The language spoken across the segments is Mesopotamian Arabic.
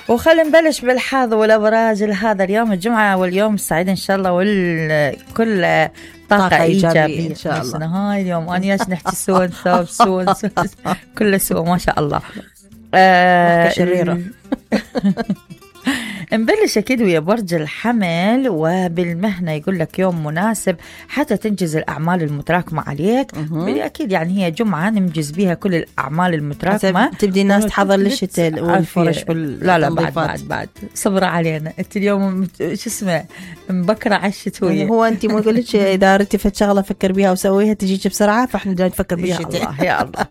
وخلينا نبلش بالحظ والأبراج لهذا اليوم الجمعة، واليوم السعيد إن شاء الله، والكل طاقة إيجابية إن شاء الله. هاي اليوم أنا ياش نحكي سوى كله سوى ما شاء الله. شريرة. نبلش أكيد ويا برج الحمل، وبالمهنة يقول لك يوم مناسب حتى تنجز الأعمال المتراكمة عليك. أكيد يعني هي جمعة ننجز بيها كل الأعمال المتراكمة. تبدي الناس تحضر للشتاء والفرش لا بعد صبر علينا. أنت اليوم شو اسمه مبكرة على الشتوية. هو أنت ما قلتش إذا رتفت شغلة فكر بيها وسويها تجيك بسرعة، فإحنا جاي نفكر بالشتاء. يا الله.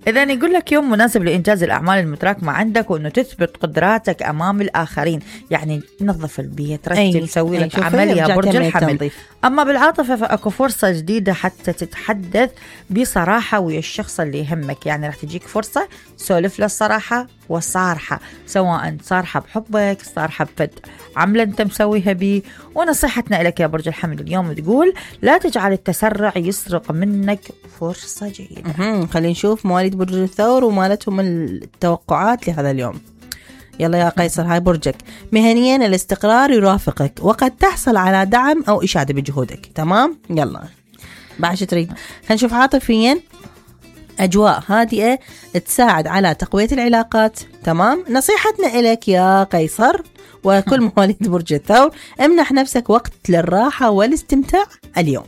إذا يقول لك يوم مناسب لإنجاز الأعمال المتراكمة عندك، وإنه تثبت قدراتك أمام الآخرين. يعني نظف البيت، رتب، سوي لك عمل يا برج الحمل. أما بالعاطفة فأكو فرصة جديدة حتى تتحدث بصراحة ويا الشخص اللي يهمك. يعني راح تجيك فرصة سولف له الصراحة والصارحة، سواء صارحة بحبك صارحة بفد عملة أنت مسويها بي. ونصيحتنا لك يا برج الحمل اليوم تقول لا تجعل التسرع يسرق منك فرصة جيدة. خلينا نشوف مواليد برج الثور ومالتهم التوقعات لهذا اليوم. يلا يا قيصر، هاي برجك. مهنيا الاستقرار يرافقك، وقد تحصل على دعم أو إشادة بجهودك. تمام، يلا بعد شو تريد. هنشوف عاطفيا أجواء هادئة تساعد على تقوية العلاقات. تمام، نصيحتنا إليك يا قيصر وكل مواليد برج الثور، امنح نفسك وقت للراحة والاستمتاع اليوم.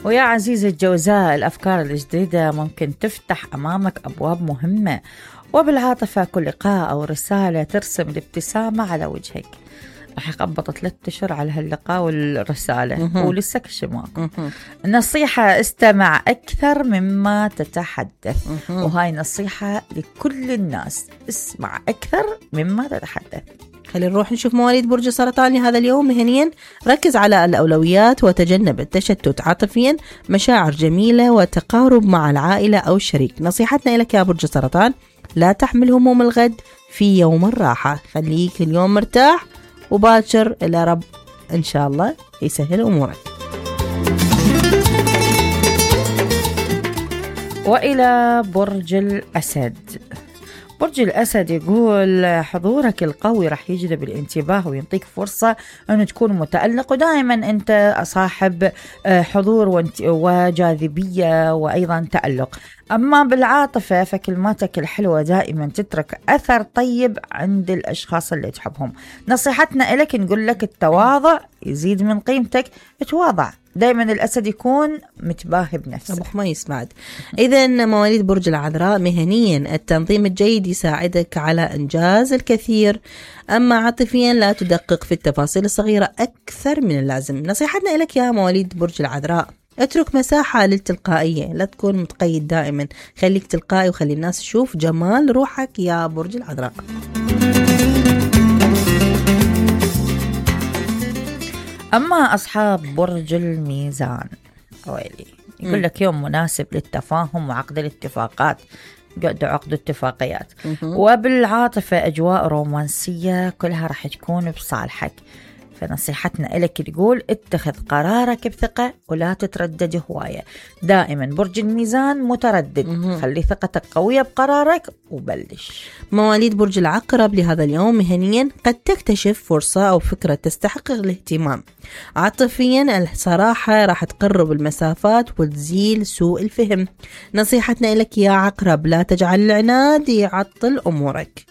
ويا عزيزي الجوزاء، الأفكار الجديدة ممكن تفتح أمامك أبواب مهمة. وبالعاطفة كل لقاء أو رسالة ترسم الابتسامة على وجهك. رح يقبط 3 أشهر على هاللقاء والرسالة ولسه كشماك. نصيحة استمع أكثر مما تتحدث. وهاي نصيحة لكل الناس، اسمع أكثر مما تتحدث. خلينا نروح نشوف مواليد برج السرطان لهذا اليوم. مهنيا ركز على الأولويات وتجنب التشتت. عاطفيا مشاعر جميلة وتقارب مع العائلة أو الشريك. نصيحتنا لك يا برج السرطان لا تحمل هموم الغد في يوم الراحة. خليك اليوم مرتاح وباكر إلى رب إن شاء الله يسهل أمورك. وإلى برج الأسد. برج الأسد يقول حضورك القوي رح يجذب الانتباه ويعطيك فرصة أنه تكون متألق، ودائما أنت صاحب حضور وجاذبية وأيضا تألق. أما بالعاطفة فكلماتك الحلوة دائما تترك أثر طيب عند الأشخاص اللي تحبهم. نصيحتنا لك نقول لك التواضع يزيد من قيمتك. تواضع دائما. الأسد يكون متباهي بنفسه. أبو خميس بعد. إذا مواليد برج العذراء مهنيا التنظيم الجيد يساعدك على إنجاز الكثير. أما عاطفيا لا تدقق في التفاصيل الصغيرة أكثر من اللازم. نصيحتنا لك يا مواليد برج العذراء اترك مساحة للتلقائية، لا تكون متقيد دائما، خليك تلقائي وخلي الناس تشوف جمال روحك يا برج العذراء. أما أصحاب برج الميزان ويلي يقول لك يوم مناسب للتفاهم وعقد الاتفاقات، عقد اتفاقيات. وبالعاطفة أجواء رومانسية كلها رح تكون بصالحك. فنصيحتنا لك تقول اتخذ قرارك بثقة ولا تتردد هواية. دائما برج الميزان متردد، خلي ثقتك قوية بقرارك وبلش. مواليد برج العقرب لهذا اليوم مهنيا قد تكتشف فرصة أو فكرة تستحق الاهتمام. عاطفيا الصراحة راح تقرب المسافات وتزيل سوء الفهم. نصيحتنا لك يا عقرب لا تجعل العناد يعطل أمورك.